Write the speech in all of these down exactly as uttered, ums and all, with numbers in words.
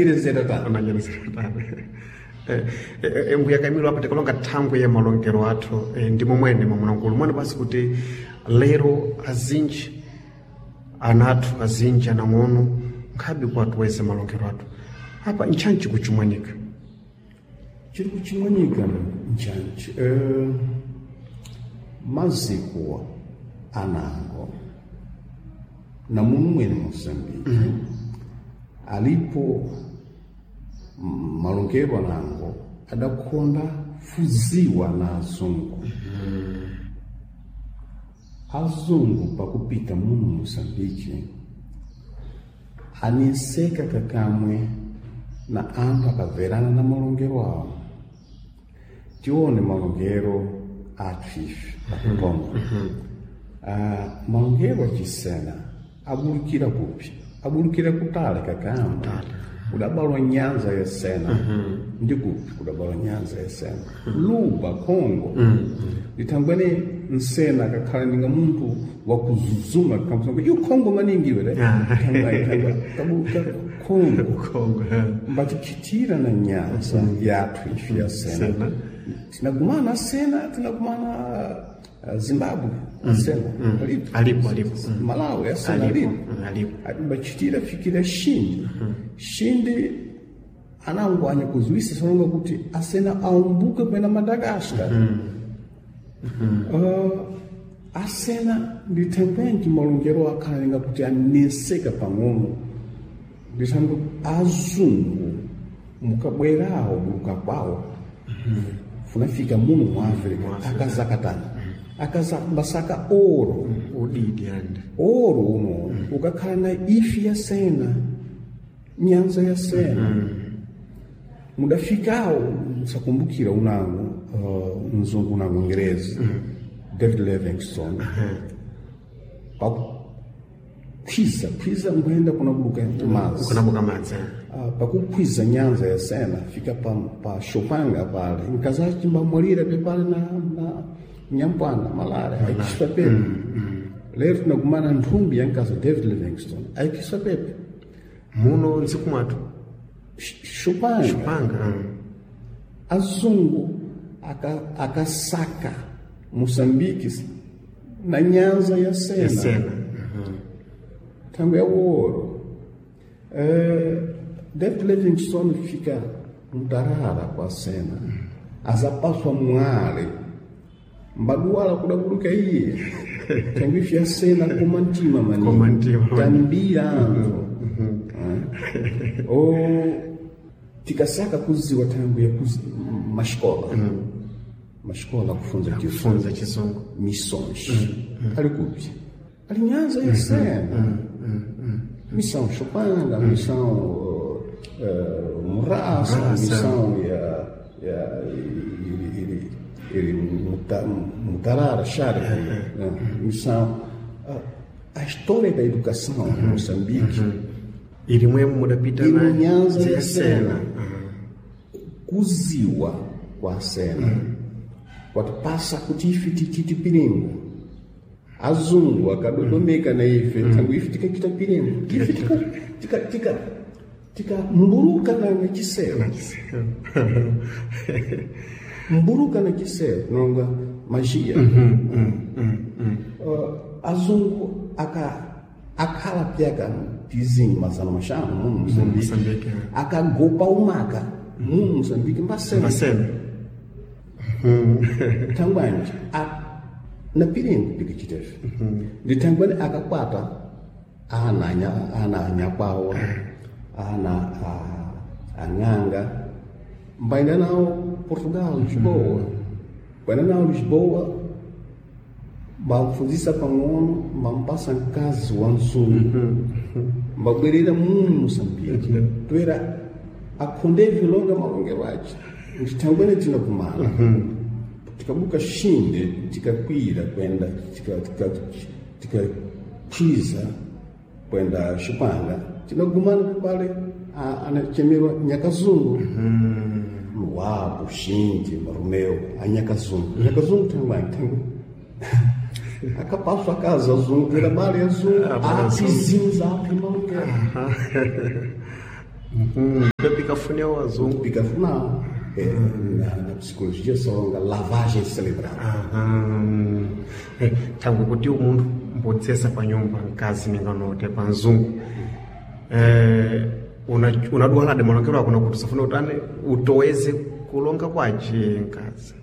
Irezera tano. Mbuya Kamilo, apa tikalonga thangwi ya malongero athu, eh, ndi momwene mwamunangulu mwene basi kuti lero azinji ana athu, azinji anang'ono nkhabe kuwatuweza malongero athu apa nchanchi kuchimwanika. Chiri kuchimwanika nchanchi, eh, maziko anango na munu mwene Moçambique alipo malongero anango adakonda fuziwa na azungu. Azungu pakupita muno Moçambique aniseka kakamwe na anthu akaverana na malongero awo. Tione malongero athu ife pakutonga. Ah, malongero acisena abulukira kupi? Abulukira kutale kakamwe. Kudabalwa nyanza ya Sena. Ndi kupi kudabalwa nyanza ya Sena? Luba, Congo. Litangwene nsena kakhala ninga munthu wakuzuzuma kamusanga iyo Congo maningi iwe le. Kabuka Congo. Kongo, eh. Mbatikhitira na nyanza yathu ife ya Sena. Tinagumana Sena, tinagumana uh, Zimbabwe Sena. Alipo. Alipo, alipo. Malawi ya Sena Alipo, alipo. mm, alipo. Mbachitira fikira Shindi. Shindi anangwanya kuzuisa sononga kuti asena aumbuke kwenda Madagascar. Uh, asena ndithengenji malongero akhala kuti aneseka pang'ono ndithango azungu mukabwerawo buluka kwawo funafika muno mu Africa akazakatana akaza mbasaka oro. Udidi ande. Oro uno ukakhala na ifi ya Sena, nyanza ya Sena. Mudafikawo musakumbukira unango uh, mzungu unango ngerezi David Livingstone pakukhwiza khwiza nkhuyenda kunabuluka mazi. Kunabuka madzi, eh. Ah, pakukhwiza nyanza ya Sena fika pa, pa Shopanga pale nkazachimbamwalira pepale na, na nyampwana malale aikiswa pepe. Lero tinakumana nthumbi ya nkaza David Livingstone aikiswa pepe. Muno ntsiku mwathu. Sh- Shopanga. Panga, mm. Azungu aka- akasaka Moçambique na nyanza ya Sena. Ya Sena. Tango é o ouro. Eh, David Livingstone fica mutarara kwa Sena. Azapaswa mwale mbaduwala kudabuluka iye. Tango ife ya Sena koma mtima maningi. Koma mtima maningi. Tambira anthu. Eh. O tikasaka kuziwa tango ya kuzi, mascola. Mascola kufunza chizungu. Kufunza chizungu. Missões. Ali kupi? Ali nyanza ya Sena. Missão Chopanga, missão uh, uh, Murassa, missão ya, ya, ili, ili, ili Muta- Mutarara, Chara, né? Missão. A, a história da educação em Moçambique Ilimwemo mudapita Iri na nyanza ya Sena. Sena. Kuziwa kwa Sena. Kwatipasa kuti ife tichite piringo. Azungu akadodomeka na ife tangu ife tikachita piringo. Ife tika tika tika tika mburuka na na chisero. Mburuka na chisero nonga magia. Uh, azungu aka akhala pyaka tizinyi mazana mashanu muno Moçambique. Moçambique, eh. Akagopa umaka muno Moçambique mbasena. Mbasena. Thangwanje a- na piringo pikachitefe ndi thangwani akakwata ana anya- ana anyakwawa ana a- ang'anga mbaenda nawo Portugal, Lisboa, mbaenda nawo Lisboa mbamfunzisa pang'ono mbampasa mkazi wa mzungu mbabwerera muno Moçambique toera akhonde vilonga malongero ace ndithangwene tinakumana tikabuka Shinde tikakwira kwenda tikakwiza kwenda Shupanga tinagumana pale anachemerwa Nyakazungu. Wapo Shinde Marumeo a Nyakazungu. Nyakazungu tangwani tangu akapaswa akaza zungu era bale azungu apizinza api malongero. Pikafune wazungu Pikafuna eh, na, na psicologia solonga lavagem cerebral. Aham. Eh, thangwe kuti umunthu mbodzesa pa nyumba mkazi ninganote pa mzungu eh, una- unadwalade malongero ako nakuti usafuna utani utoweze kulonga kwace mkazi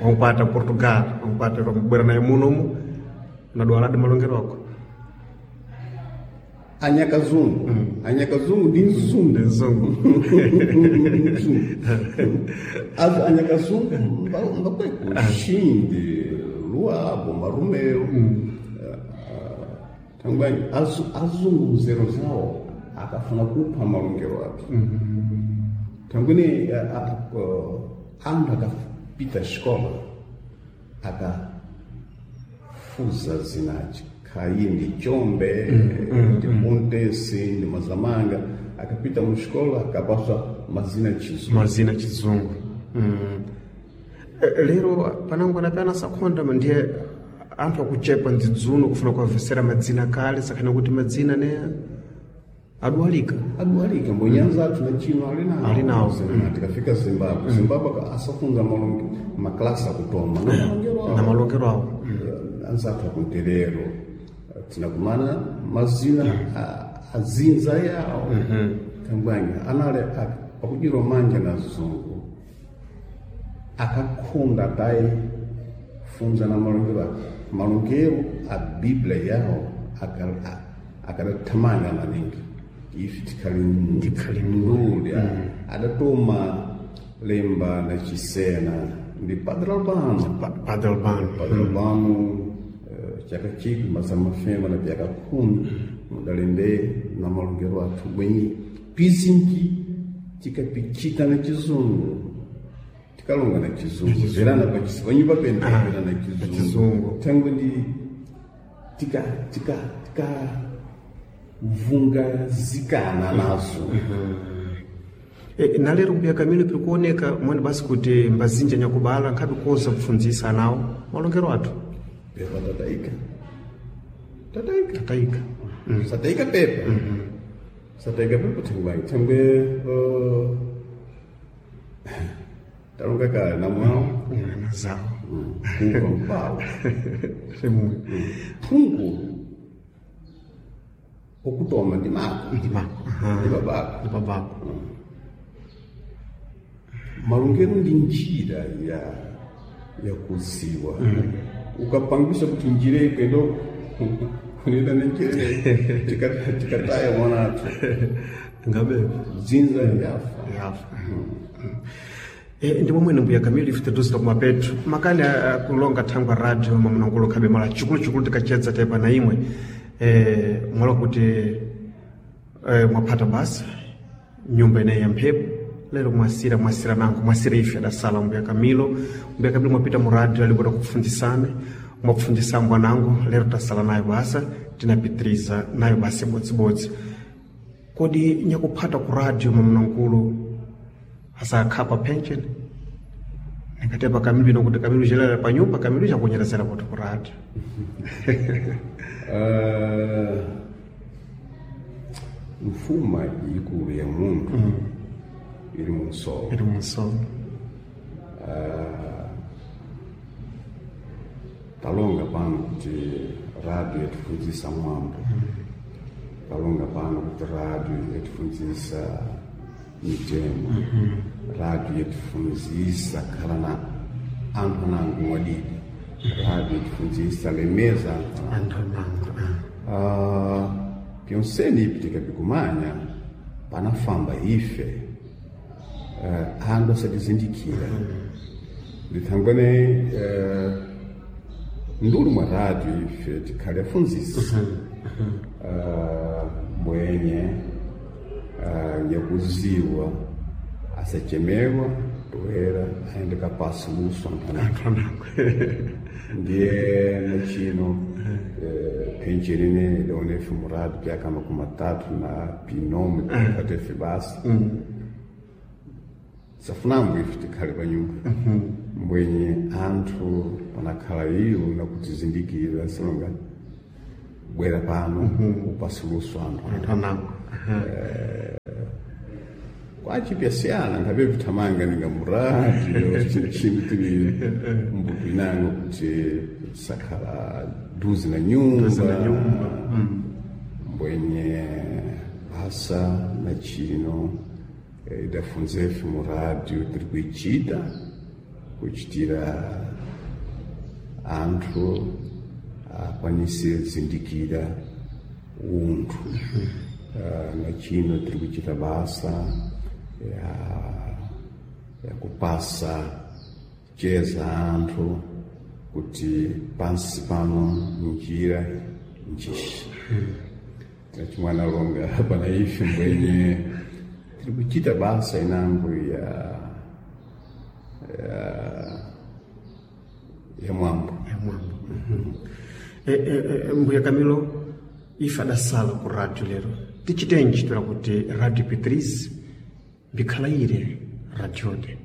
wankwata Portugal wankwata mbwera naye munomu unadwalade malongero ako Anyakazungu anyakazungu ndi mzungu ndi mzungu Mzungu. Azo anyakazungu mba- mbakweko Xinde Luabo Marumeu thangwani azungu mzero zawo akafuna kupha malongero ake thangwini anthu akapita xikola akafuza zinaci khayi ndi chombe ndi montesi ndi mazamanga akapita muxikola akapaswa mazina chizungu mazina chizungu mm. Eh, lero panango anapena sakhonda ndiye anthu akuchepa ndzidzuno kufuna kuwavesera madzina kale sakhana kuti madzina ne adwalika adwalika mbonyanza athu na chino ali nawo Ali nawo. Zina, tikafika zimbabwe zimbabwe aka- asafunza malonge maklasi akutoma na malongero awo. na malongero awo Eh, anzathu akunterero tinakumana mazina a- azinza yawo kangwanyi anali ak- akudiro manja na zungu akakhunda tayi funza na malongero ake malongero a biblia yawo aka- a- akadathamanga maningi ife tikhali Tikhali nduli adatoma lemba na chisena ndi Padre Albano Pa- Padre Albano Padre Albano eh, chaka chikwi mazana mafema na pyaka khumi mudalembe na malongero athu bwenyi pizinji tikapichita na chizungu tikalonga na chizungu verana pa chizungu panyumba pene tikapera na chizungu chizungu. tango ndi tika tika tika vungazikana nazo E, na lero mbuya Kamilo pikuoneka mwene basi kuti mbazinja nyakubala nkhabe kuoza kupfundzisa anawo malongero athu pepa tataika tataika tatayika sataika pepa sataika pepa thangwanyi thangwe uh, talonga kale namwawo nazawo kuva mpawo rimwe phungu okutoma ndi mako ndi mako ndi babako ndi babako malongero ndi njira ya yakuziwa ukapangisa kuti njira ikwendo kunenda nenjira tika- tikataya mwana athu ngabe dzinza yafa yafa E, ndi momwene mbuya Kamilo ife taduzira kumapetu makani a- a kulonga thangwa radio mamunangulo khabe mala chikuluchikulu tikachedza tepa na imwe e, mwala kuti e, mwaphata basa nyumba ineyi ya mphepo lero mwasira mwasira nango mwasira ife adasala mbuya Kamilo mbuya Kamilo mwapita mu radio alipota kupfundzisane mwapfundzisa mbwanango lero tasala nayo basa tinapitiriza nayo basa ibodzibodzi kodi nyakuphata ku radio mamunangulo asakhapa pension ningatepa Kamilo ino kuti Kamilo chelera pa nyumba Kamilo chakunyerezera kuti ku radio Ah, mfuma ikulu ya munthu ili munsolo ili munsono talonga pano kuti radio yatifunzisa mwambo talonga pano kuti radio yatifunzisa mitemo radio yatifunzisa khala na anthu anango mwadidi radio yatifunzisa lemeza anthu anango anthu anango Ah, pyonseni ipi tikapikumanya panafamba ife uh, anthu asatizindikira ndithangwane uh, nduli mwa radio ife tikhale afunzisi uh, mbwenye uh, nyakuziwa asachemewa toera aende kapasi luso anthu anango anthu anango ndiye nachino eh, pension ine daonefe murado pyaka makumi matatu na pinome patefe basa safunambo ife tikhale pa nyumba mbwenye anthu panakhala iwo nakutizindikira silonga bwera pano upasi luso anthu anthu anango Kwachipyasiyana nkhabe vithamanga ninga muradio chinthu tili mbuto inango kuti sakhala duzi na nyumba mbwenye basa na chino idafunzefe mu radio tiri kuichita kuchitira anthu akwanise zindikira unthu. Uh, na chino tiri kuchita basa ya, ya kupasa cheza anthu kuti pansi pano njira njishi. Nachimwana longa pana ife mbwenye tiri kuchita basa inango ya ya, ya mwambo ya mwambo. Mm-hmm. E, e, e, mbuya Camilo, ife adasala ku radio lero tichitenji tola kuti radio Petriz bikhalayire radiode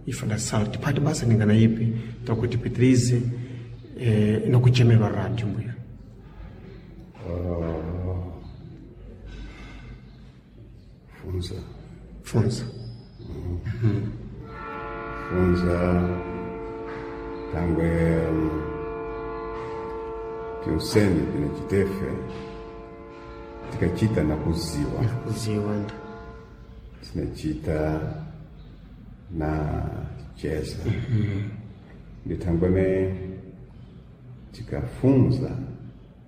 ife adasala tiphati basa ningana ipi tola kuti Petriz eh, inakuchemerwa radio mbuya. Uh, funza funza mm. Funza tangwe um, piuseni pinachitefe tikachita na kuziwa kuziwa tinachita na cheza. Mm-hmm. Nditangwene tikafunza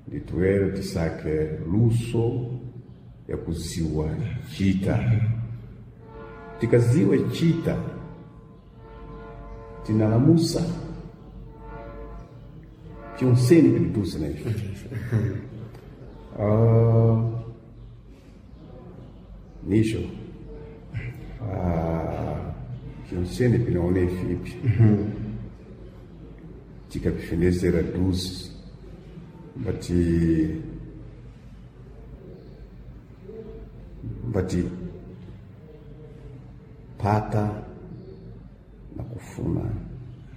ndituwere tisake luso ya kuziwa chita. Tikaziwe chita tinalamusa pyonseni pilitusa na ife. Uh, nisho uh, pyonseni pinaone ifipi tikapifendezera duzi bati bati pata na kufuna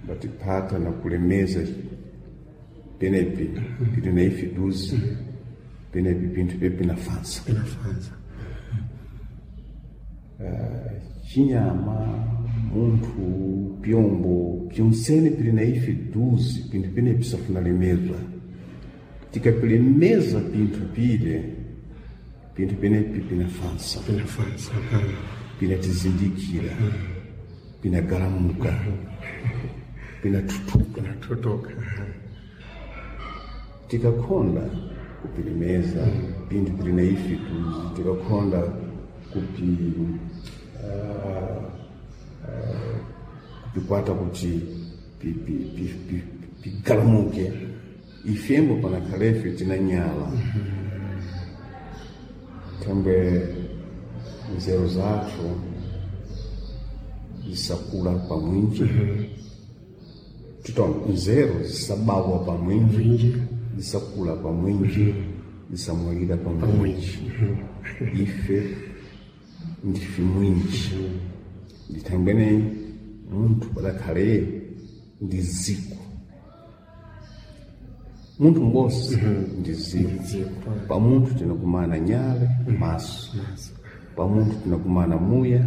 bati pata na kulemeza penepi pili na ifi duzi penepi pinthu pepi nafansa pinafansa. Uh, chinyama munthu pyombo pyonsene pili na ifi duzi pinthu penepi safuna lemezwa. Tikapilemeza pinthu pile pinthu penepi pinafansa pinafansa pinatizindikira pinagalamuka pinatutuka pinatutuka. Tikakhonda kupilemeza pinthu pili na ifi duzi tikakhonda kupi uh, uh, kupikwata kuti pigalamuke pi, pi, pi, ifembo panakhalefe tinanyala. Thangwe nzeru zathu zisakula pamwinji tito nzeru zisabawa pamwinji zisakula pamwinji zisamwalira pamwinji. Ife ndife mwinji ndithangwene munthu padakhale ndi ziko munthu m'bosi ndi ziko. Pamunthu tinakumana nyale maso, pamunthu tinakumana muya,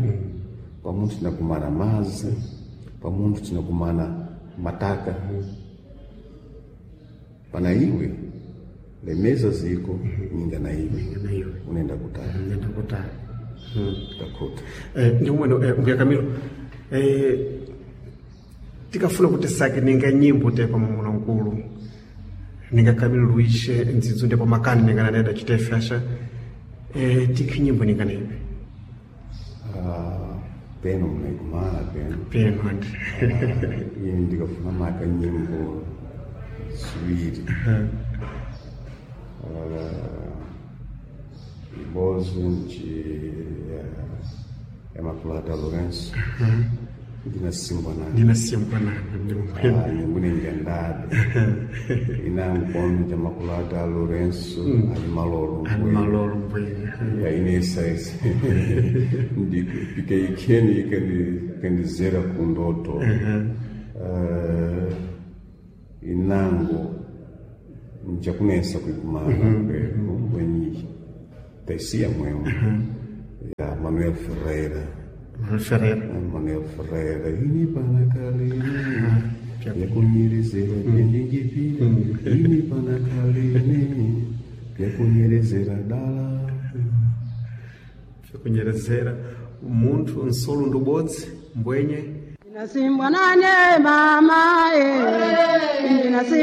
pamunthu tinakumana mazi, pamunthu tinakumana mataka. Pana iwe lemeza ziko ninga na iwe unenda kutali unenda kutali takhuta. Eh, ndi umwene eh, mbuya Camilo eh, tikafuna kuti sake ninga nyimbo te pamamuna nkulu ninga Camilo Luís ndzidzu ndipo makani ninga naneda chitefe asha eh, tikhi nyimbo ninga naipi Uh, peno mnaikumana peno peno andi uh, ine ndikafuna maka nyimbo ziwiri. Uh, ibozi nji ya Makulata Lourenço ndinasimbwa nani ndinasimbwa nani Ah, nyimbo ninjandabe inangu nja Makulata Lourenço ali malolo ali malolo mbwene ya inesa ese ndipika ikheni ikandizera kundoto. Uh, inango njakunesa kuikumana kweku mbwenyi Tesia mwemwe ya Manuel Ferreira. Manuel Ferreira. Manuel Ferreira ini panakalene vyakunyerezera vyanjinjipile ini panakalene vyakunyerezera dala. Vyakunyerezera munthu nsolo ndubodzi mbwenye. Ndinasimbwa nane mama eh, ndinasimbwa.